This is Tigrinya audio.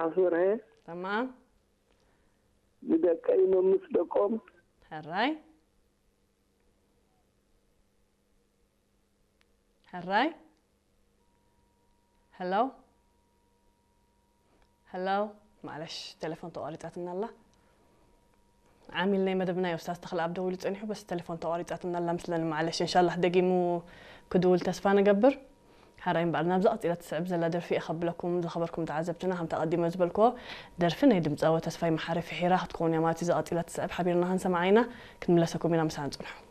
ኣስበርሀ ተማም ንደቀይ መምስ ደቆም ሕራይ ሕራይ ሄሎ ሄሎ ማለሽ ቴሌፎን ተቋሪጻትና ኣላ ዓሚል ናይ መደብና እዩ ኡስታዝ ተኽለ ኣብ ደዊሉ ጸኒሑ በስ ቴሌፎን ተቋሪጻትና ኣላ ምስለኒ ማለሽ እንሻላህ ደጊሙ ክድውል ተስፋ ንገብር ሓራይ እምበኣር ናብዛ ቀጺላ ትስዕብ ዘላ ደርፊ እየ ከብለኩም ዝኸበርኩም ተዓዘብትና ከምቲ ኣቐዲመ ዝበልክዎ ደርፊ ናይ ድምፃዊ ተስፋይ መሓሪ ፍሒራ ክትከውን እያ ማለት እዩ እዛ ቀጺላ ትስዕብ ሓቢርና ክንሰምዓ ኢና ክንምለሰኩም ኢና ምሳና ጽንሑ